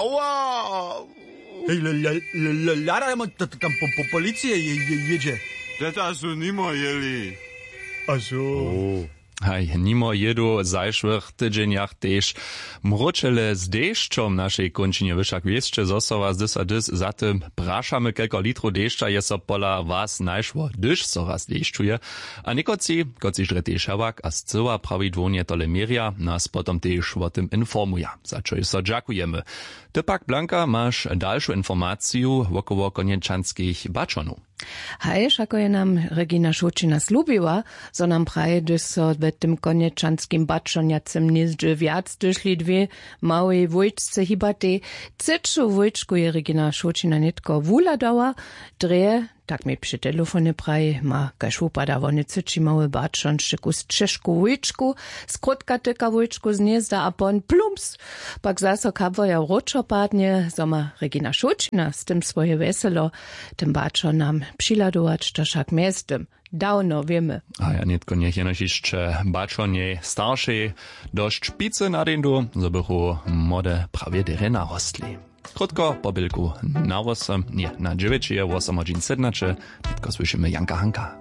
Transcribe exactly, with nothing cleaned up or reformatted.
Oła. Hej, hlada tam po policije jědźe. Teta su nimo jěli. A so. Haj, nimo jědu w zašłych tydźenjach tež mróčele z dešćom w našej kónčinje. Wy wšak wěsće, zo so was dys a dys za tym prašamy, kelko litrow dešća je so pola was našło, hdyž so raz dešćuje. A někotři, kotřiž drje tež hewak a scyła prawidłownje tole měrja, nas potom tež wo tym informuja, za čo so dźakujemy. Ty pak, Blanka, maš dalšu informaciju wokoło konječanskich baćonow. Haj, wšako je nam Regina Šołćina slubiła, zo nam praji, hdyž so we tym konječanskim baćonjacym hnězdźe wjac hdyžli dwě małej wójčce hibatej. Třeću wójčku je Regina Šołćina nětko wuhladała. Drje, tak mi při telefonje praji, ma, kaž wupada, wone třeći mały baćon šćeku z čežku wójčku, skrótka tyka wójčku z hnězda a pon plumps, pak zaso kabwoja wróćo padnje, zo ma Regina Šołćina z tym swoje wjeselo. Tym baćo nam přihladować, to wšak mjeztym dawno wěmy. A ja nětko njech jenož hišće baćo njej staršej dosć picy na deńdu, zo bychu młode prawje derje narostli. Krótko po bělku na wosem, ně, na dźewjećeje, wosem hodźin sydnaće. Nětko słyšimy Janka Hanka.